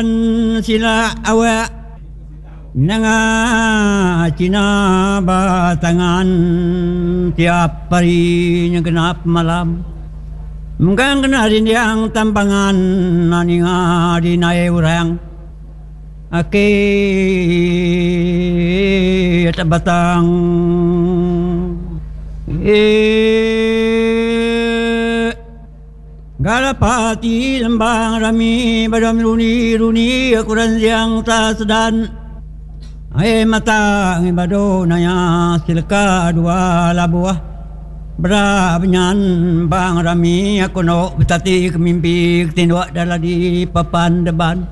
Iban sila awak nanga China batangan tiap hari nyegenap malam. Mengkang kena dinding tampangan ninga dinai orang aki batang. Eee. Galapati lembang rami badam runi runi aku ranjang ta sedan ai mata ngi badu naya silka dua labuh bera benyan bang rami aku endo betati ke mimpi ke tinduk da ladi papan deban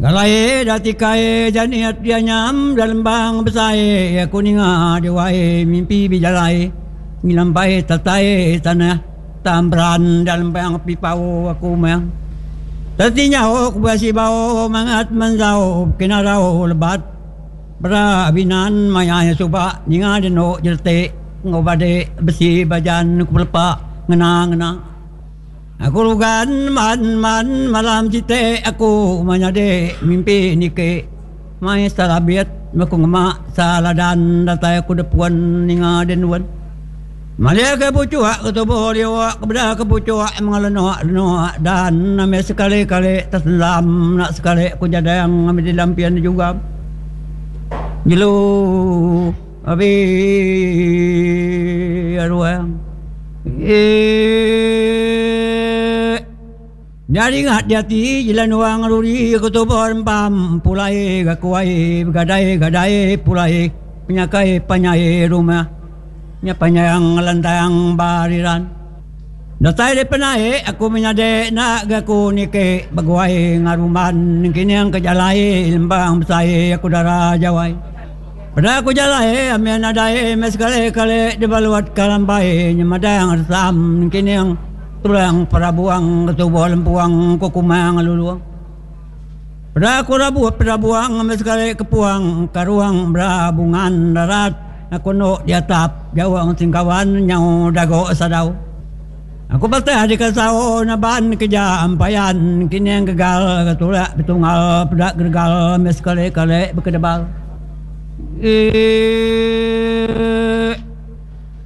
galai da tikai janit dia nyam da lembang besai aku ninga diwai mimpi bejalai. Ngelambai tatai tanah tambran dalam bang pipau aku meh. Teti nyauh berasi bau mangat menzau kena rau lebat bera binan maya iya suba ninga denu jeletik enggau bade besi bajan ku pelepa ngena ngena. Aku lugan man man malam siti aku menyadi mimpi niki mai salabit aku ngema saladan datai aku depuan ninga denun. Malia ke puchuk ke tubuh liuk ke beda ke puchuk mengelenuk lenuk dan ambi sekali kali teselam enda sekali ku jadang ambi di lampian jugam. Jelu abi ruang. Eee. Nyadi ngat diati jelan wang ruri ke tubuh rempam pulai ga kuai begadai gadai pulai penyakai panyai rumah nya panyang lantang bariran. Datai di penai aku menyadi enda ga aku niki beguai ngaruman nengkining ke jalai lembang besai aku dara jawai. Peda aku jalai ambi nadai meh sekali kali dibalut ka lambai nyemadang resam nengkining. Tulang perabuang ketubuh lempuang ku kumang lulung. Peda aku rabuh peda buang ambi sekali ke puang ka ruang berabungan darat aku endo diatap jauh singkawan nyau dago sadau. Aku patah dikasau naban keja ampayan kining gegal ke tulak betungal peda geregal ambi sekali kali bekedebal. Eee.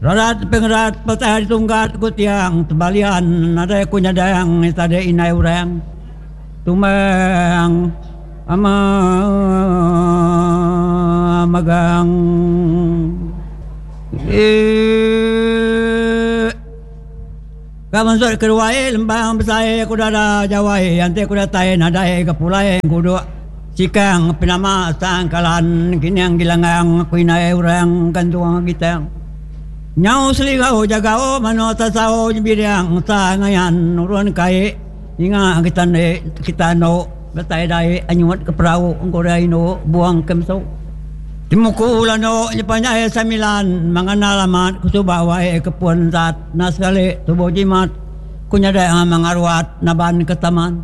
Rarat pengerat petai ditunggat ku tiang tebalian nadai ku nyadang tadi indai orang tumbang ama magang eee ka mansut ke ruai lembang besai ku dada jawai enti ku datai nadai ga pulai nguduk sikang penama sangkalan kining gilangang ku indai orang gantung gitang. Nyau seligau jagau manuk tasau nyebiring sa ngayan nurun kai ninga kita ende kita endo datai dai anyut ke perau engkurai indu buang ke mesu. Temuku landu nyepanjai samilan mengandal amat ku suba wai ke pun sat na sekali tubuh jimat ku nyadai mengaruat naban ke taman.